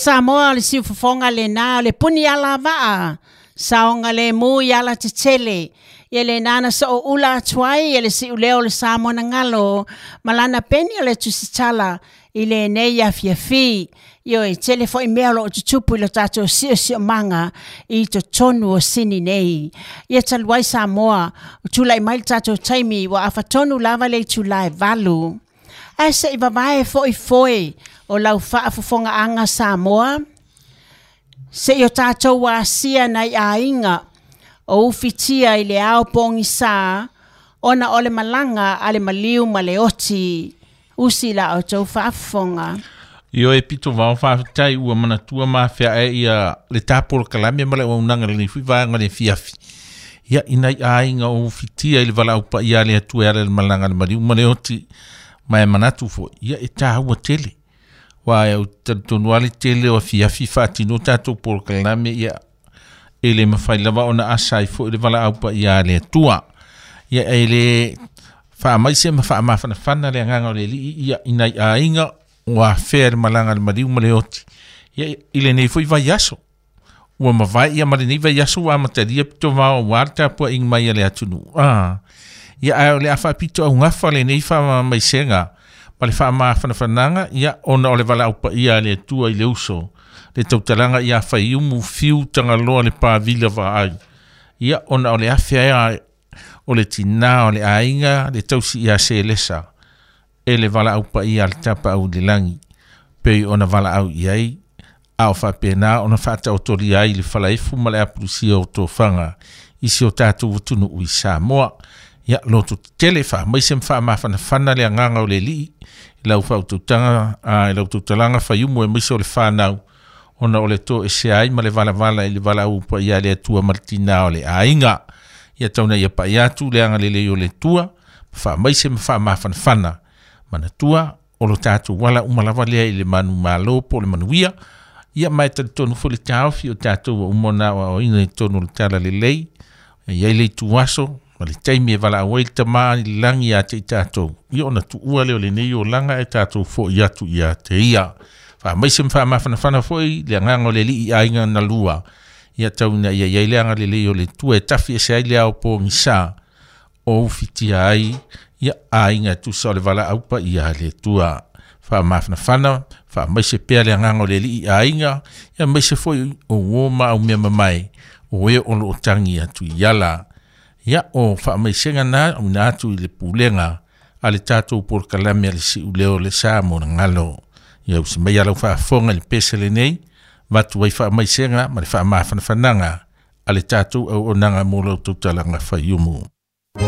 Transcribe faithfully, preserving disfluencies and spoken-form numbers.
Samoa le siufofoga lenā o le puni alavaa saoga lemu i alatetele ia lenā na soouula atu ai e le siuleo o le Samoa na galo ma lana peni o le tusitala i lenei afiafi. Ioe, tele foi mea o loo tutupu i lo tatou siosiomaga i totonu o Sini nei. Ia talu ai Samoa, o tulai mai le tatou taimi ua afatonu lava le itula e valu. Ae se i vavae foi foe o lau faafofogaaga Samoa, se i o tatou asia nai aiga o ufitia i le ao pogisā ona o le malaga a le maliu ma le oti. Usi la outou faafofoga. Ioe pito vao faafetai ua manatua mafea e ia le tapolokalame ma le auaunaga lenei foi vaega le fiafi. Ia ina i aiga o ufitia i le valaau paia a le Atua e ala i le malaga a le maliu ma le oti ma e manatu foi ia e tāua tele. Ua e au talitonu ale tele o afiafi faatino tatou polokalame ia e le mafai lava ona asa ai foi le valaau paia a le Atua. Ia e le faamaise ma faamafanafana le agaga o le Alii ia ina i aiga ua afea le malaga a le maliu ma le oti. Ia i lenei foi vaiaso ua mavae ia ma lenei vaiaso ua amatalia pito vao ua le tapuaiga mai a le atunuu. Ah, ia ae o le a faapito augafa lenei faamaisega ma le faamafanafanaga ia ona o le valaau paia a le Atua i le uso le tautalaga ia Faiumu Fiu Tagaloa le Pavila Vaai. Ia ona o le afe ai o le tinā o le aiga le tausi ia Selesa e le valaau paia a le tapaau i le lagi pei ona valaau i ai a o faapena ona faataotolia ai le falaefu ma le apulusia o tofaga i si o tatou atunuu i Samoa. Ia loto tetele faamaise ma faamafanafana le agaga o le Alii i lau faautautaga i lau tautalaga Faiumu aemaise o le fanau ona o le toesea ai ma le valavala i le valaau paia a le Atua ma le tinā o le aiga. Ia tauna ia pai atu le agalelei o le Atua faamaise ma faamafanafana manatua o lo tatou ala uma lava lea i le manumalo po o le manuia. Ia ma e talitonu foi le taofi o tatou ua uma ona aoaoina i totonu o le talalelei e i ai le ituaso ma le taimi e valaau ai le Tama i le lagi ia te i tatou. Ia ona tuua lea o lenei olaga e tatou foi atu ia te ia. Faamaise ma faamafanafana foi le agaga o le Alii i aiga na lua. Ia tauna ia i ai le agalelei o le Atua e tafi ese ai le ao pogisa o ufitia ai ia aiga e tusa o le valaau paia a le Atua. Faamafanafana, faamaise pea le agaga o le Alii i aiga, ia maise foi o uo ma au mea mamae o e o loo tagi atu i ala. Ia o faamaisega na auina atu i le pulega a le tatou polokalame a le Siuleo o le Samoa na galo. Ia usi mai lau faafofoga i le pese lenei, vatu ai faamaisega ma le faamafanafanaga a le tatou auaunaga mo lau tautalaga Faiumu.